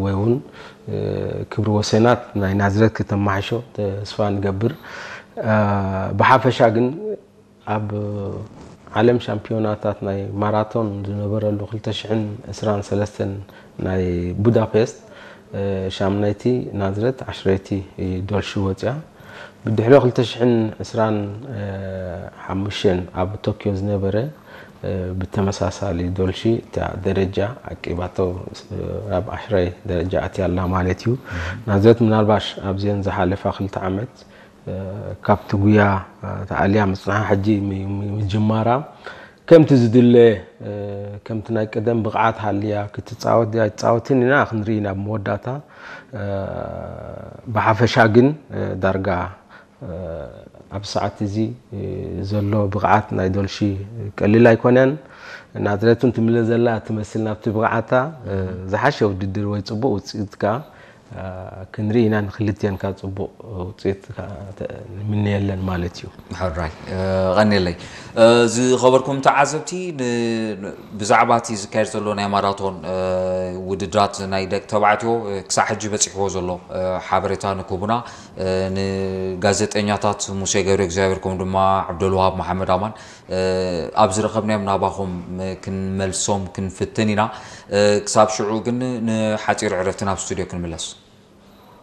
ወይ እውን ክብሪ ወሰናት ናይ ናዝሬት ከተማሓሾ ተስፋ ንገብር። ብሓፈሻ ግን ኣብ ዓለም ሻምፒዮናታት ናይ ማራቶን ዝነበረሉ ክልተ ሽሕን ዕስራን ሰለስተን ናይ ቡዳፔስት ሻምናይቲ ናዝሬት፣ ዓሽረይቲ ዶልሺ ወፅያ። ብድሕሪ ክልተ ሽሕን ዕስራን ሓሙሽተን ኣብ ቶኪዮ ዝነበረ ብተመሳሳሊ ዶልሺ እታ ደረጃ ዓቂባቶ ናብ ዓሽራይ ደረጃ ኣትያ ኣላ ማለት እዩ። ናዝሬት ምናልባሽ ኣብዚአን ዝሓለፋ ክልተ ዓመት ካብቲ ጉያ ተኣልያ ምጽንሓ ሕጂ ምጅማራ ከምቲ ዝድለ ከምቲ ናይ ቀደም ብቕዓት ሃልያ ክትጻወት ድያ ኣይትጻወትን ኢና ክንርኢ ናብ መወዳእታ። ብሓፈሻ ግን ዳርጋ ኣብ ሰዓት እዚ ዘሎ ብቕዓት ናይ ዶልሺ ቀሊል ኣይኮነን። ናዝሬት እውን ትምለ ዘላ ትመስል ናብቲ ብቕዓታ። ዝሓሸ ውድድር ወይ ጽቡቕ ውፅኢት ከዓ ክንርኢ ኢና። ንክልቲአን ከዓ ጽቡቕ ውፅኢት ንምነየለን ማለት እዩ። ሕራይ ቀኒለይ። ዝኸበርኩም ተዓዘብቲ፣ ብዛዕባ እቲ ዝካየድ ዘሎ ናይ ማራቶን ውድድራት ናይ ደቂ ተባዕትዮ ክሳዕ ሕጂ በፂሕዎ ዘሎ ሓበሬታ ንክቡና ንጋዜጠኛታት ሙሴ ገብረ እግዚኣብሔር ከምኡ ድማ ዓብደልዋሃብ መሓመድ ኣማን ኣብ ዝረኸብናዮም ናባኹም ክንመልሶም ክንፍትን ኢና። ክሳብ ሽዑ ግን ንሓፂር ዕረፍቲ ናብ ስቱድዮ ክንምለስ።